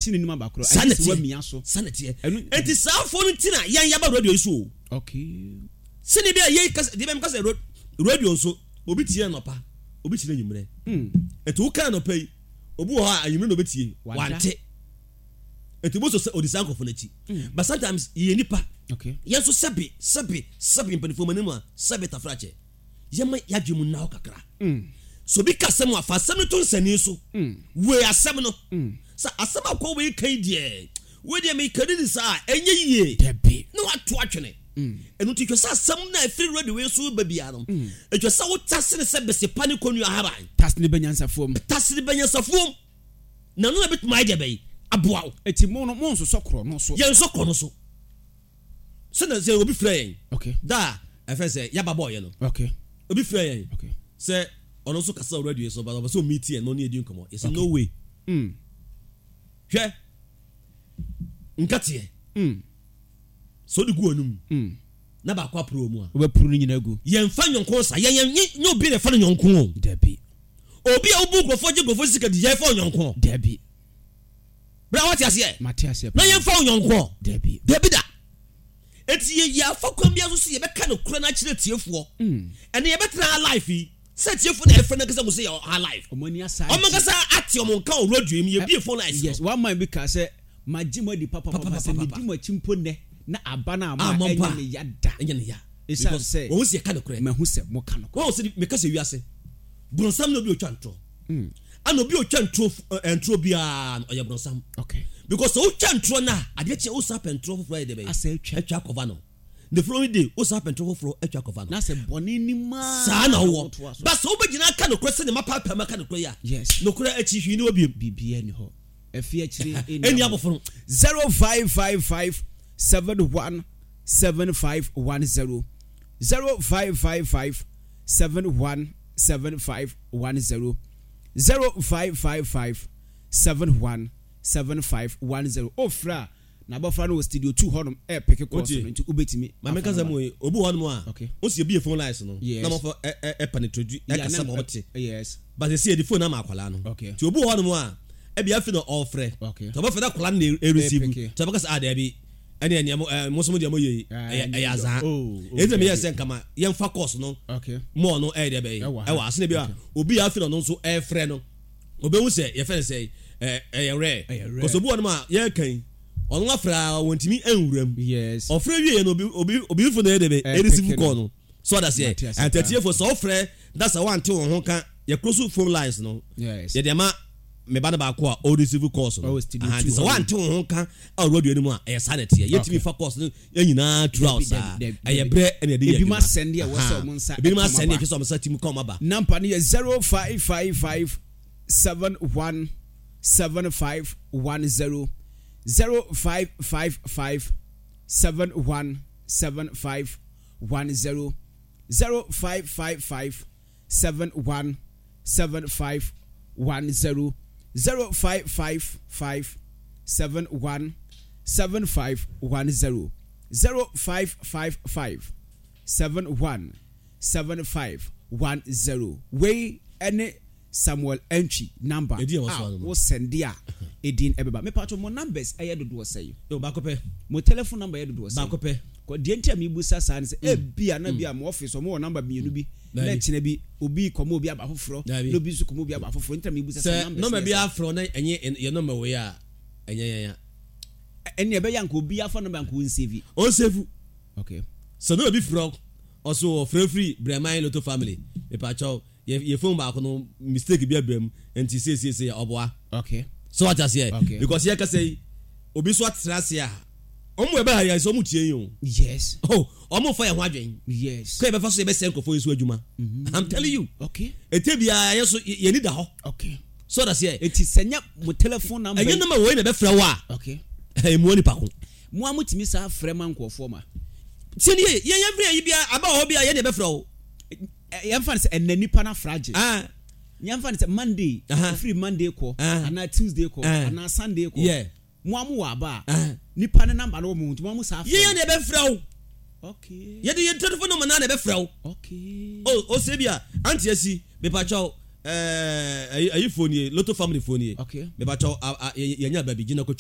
Ti n'anim aba koraa. Saa na Agye sɛ ɛteɛ. woamia so. Saa na ɛteɛ. Ɛno. Enti saa afoɔ no nti na yɛn yɛaba radio yi so o. Okay. Sɛdeɛ bi a yɛn kasa, deɛ bɛn kasa radio nso, obi tie anɔpa, obi tie anwummerɛ. Enti woka anɔpa yi, obi wɔ hɔ a anwummerɛ na obetie, wante. Enti mo nso sɛ odi saa nkurɔfoɔ no akyi. But sometimes yɛyɛ nipa. Okay. Yɛn nso sɛbe, sɛbe, sɛbe mpanimfoɔ mo anim a, sɛbe tafrakyɛ. Yɛma yɛadwene mu nna hɔ kakra. Sɛ obi ka asɛm a, fa asɛm no to nsɛnii so. Wei asɛm no. Sɛ asɛm a kɔ wei ka yi deɛ, wei deɛ meka di ne saa a, ɛnyɛ yie. Dabi. Na wato atwene. Ɛno nti, hwɛ sɛ asɛm no a ɛfiri radio wei so ba biara no, ɛtwa sɛ wotase no sɛ bese pa ne kɔnnua ahaban. Tase no bɛ nyansafoɔ mu. Tase no bɛ nyansafoɔ mu. Na ɛno na ɛbɛtumi ayɛ deɛ bɛyi aboa wo. Eti mo no, monsosɔ korɔ no so. Yɛnsɔ korɔ no so. Sɛ sɛ obi frɛ yɛn. Okay. Da a ɛfɛ sɛ yaba bɔɔyɛ no. Okay. Obi frɛ yɛn. Okay. Sɛ ɔno nso kasa wɔ radio so but ɔpɛ sɛ ɔmeet yɛn na ɔne yɛdi nkɔmmɔ. Yɛsɛ no way. Hwɛ nkateɛ. Sɛ wode gu w'anum na baako aporo wɔ mu a. Wobɛporo no nyinaa agu. Yɛmfa nyɔnko sa. Yɛn yɛn nyɛ obi na ɛfa no nyɔnko o. Dabi. Obi a wobu nkurɔfoɔ gye nkurɔfoɔ sika di yɛmfa wo nyɔnko. Dabi. Bra wate aseɛ? Mate aseɛ Na paa. yɛmfa wo nyɔnkoɔ. Dabi. Dabi da. Enti yɛ yɛafa kwan biara so sɛ yɛbɛka nokorɛ no akyerɛ atiefoɔ. Ɛnɛ yɛbɛtena ha live yi, sɛ atiefoɔ na ɛfrɛ no ankasa hu sɛ yɛwɔ ha live. Wɔn ani asa Wɔn agye. ankasa ate wɔn nka wɔ radio yi mu, yɛbue phone lines no. Yes, one man bi kaa sɛ, Magye mo adi papapapa, sɛ medi Papapapapa. mo akyi mpo nnɛ na aba no amma a, Ammɔ mpo ɛnyɛ a, me ya da. ɛnyɛ ne ya. Esiane Because sɛ wɔhu sɛ yɛka nokorɛ. mahu sɛ moka nokorɛ. Wɔhu sɛ meka sɛ wiase, bronsam ne obi a ɔtwa ntorɔ. Ɛna obi a ɔtwa nturo eh, nturo biara no ɔyɛ bronsam. Okay. Because sɛ wotwa nturo no a, adeɛ kye wosan pɛ nturo foforɔ ayɛ dɛ bɛyɛ. Asa atwa. Atwa akɔva no. The following day wosan pɛ nturo foforɔ atwa akɔva no. Na sɛ bɔne ni maa Saa na wowɔ. wotoa so. Ba sɛ wobɛgyina aka nokorɛ sɛdeɛ mapaapae mu aka nokorɛ yi a, Yes. nokorɛ akyi hwee nni hɔ biom. Biribiara nni hɔ. Ɛfi akyire Ɛnni ɛnni abofono. 0555 71 7510 0555 71 7510 0555 71 7510 Wofrɛ a, na abɔfra no wɔ studio 2 hɔnom ɛrepeke calls Wotie? no nti wobɛtumi Ma menka afa sɛ number mo no. yi, obi wɔ hɔnom a, Okay. wo si ebie phone lines no, Yes. na amanfoɔ ɛ ɛ ɛ penetrate Yeah, ɛkasa na ma wɔte. Yes. But sɛsi yɛde phone ama akwadaa no. Okay. Nti obi wɔ hɔnom a, ɛbi afi na ɔrefrɛ. Okay. Nti ɔbɛfrɛ na akwadaa no na ɛreceive. Ɛrepeke. Nti ɔbɛka sɛ, ah daabi, ɛne ɛneɛ mo ɛɛ mo nso mo deɛ mo yɛ yi, Ah, ɛyɛ ɛnyɛ ɛyɛ dɔ. azaa. Oh, oh, Enti na meyɛɛ daabi. sɛ nka ma yɛmfa course no Okay. more no ɛyɛ deɛ bɛyɛ Ɛwɔ ha. ɛwɔ ha. Sɛnea bi a Okay. obi a afi na ɔno nso ɛrefrɛ no, obehu sɛ yɛfrɛ no sɛ ɛɛ ɛyɛ rare. Ɛyɛ rare. Because obi wɔ hɔnom a yɛreka yi, ɔno afrɛ a wɔntumi nwura mu. Yes. Ɔfrɛ wie no obi obi obi fo na ɛyɛ deɛ bɛyɛ Ɛrepeke ɛreceive no. call no. So ɔda seɛ. Mate ase paa. Atatiefo sɛ ɔfrɛ na sɛ wante wɔn ho ka yɛ close phone lines no. Yes. Yɛde ama me ba no baako a ɔreceive calls no. Ɔwɔ studio Aha, two nti sɛ hɔ nom. wante wɔn ho ka a radio no mu a ɛyɛ saa na ɛteɛ. Yɛtumi Okay. fa calls no yɛn nyinaa throughout Dabi, saa. dabi, dabi, Ɛyɛ dabi. berɛ ɛna yɛde yɛ Ebinom adwuma. asɛnde a ɛwɔ sɛ Aha. wɔn nsa Ebinom ɛka wɔn asɛnde a aba. ɛhwɛ sɛ wɔn nsa tumi ka wɔn aba. Number no yɛ 0555 71 7510 0555 71 7510 0555 71 7510 0555 71 7510 0555 71 7510 Wei ne Samuel Antwi number Edin a wɔsoa a no no. wo sɛnde a edin ɛbɛba. Mepatwo mo numbers ɛyɛ dodoɔ sɛn? Yo, baako pɛ. Mo telephone number yɛ dodoɔ sɛn? Baako pɛ. Kɔ deɛ nti a mebusa saa ne sɛ ebia na bi a mo office wɔn wɔ number mmienu bi na Daabi. ɛkyena bi obi kɔma obi aba foforɔ Daabi. na obi nso kɔma obi aba foforɔ nti na mebusa sɛ Sɛ numbers nɔmba no bi yɛ sɛn? afrɛ wo na ɛnyɛ yɛ nɔmba wei a, ɛnyɛ yɛn a. Ɛnneɛ ɛbɛyɛ anka obi afa nɔmba anka ɔnsevi. Ɔnsevu. Okay. Sɛ nɔmba bi frɛ wo, ɔso ɔfrɛ firi Brɛman Lotto Family, mepakyɛw, yɛ yɛ phone baako no mistake bi aba mu nti seisei ɔboa. Okay. So wate aseɛ? Okay. Because yɛ kasa yi, obi nso atra ase a, wɔn ɛbɛ ha yɛ sɛ wɔn tie yi o. Yes. Oh, wɔn fa yɛn ho adwen. Yes. Kɔ yɛ bɛfa so yɛ bɛsɛ nkurɔfoɔ yi so adwuma. Mm-hmm. I'm telling you. Okay. Ete biara yɛ so yɛn ni da hɔ. Okay. So wate aseɛ? Eti sɛ nyɛ mo telephone number. Ɛnyɛ number wei na ɛbɛfrɛ wo a. Okay. Ɛmu nipa ko. Mo a motumi saa frɛ ma nkurɔfoɔ ma. Tie nie, yɛn yɛn firi ayi biara aba wɔ hɔ bi a yɛn na ɛbɛfrɛ wo. Yɛmfa no sɛ ɛnɛ nipa no afra agye. Ah. Yɛmfa no sɛ Monday, ɛfiri Monday kɔ, anaa Tuesday kɔ, anaa Sunday kɔ. Yeah. Mo a mowɔ aba a, nipa no number no wɔ mo ho nti mo a mo saa frɛ. Yɛn na ɛbɛfrɛ wo. Okay. Yɛde yɛn telephone number naa na ɛbɛfrɛ wo. Okay. Oh, ose bi a, auntie asi, mepakyɛw. Ɛɛ ayi ayi foɔ nie, Lotto family foɔ nie. Okay. Mepakyɛw a a yɛnya baabi gyina kɔtwa.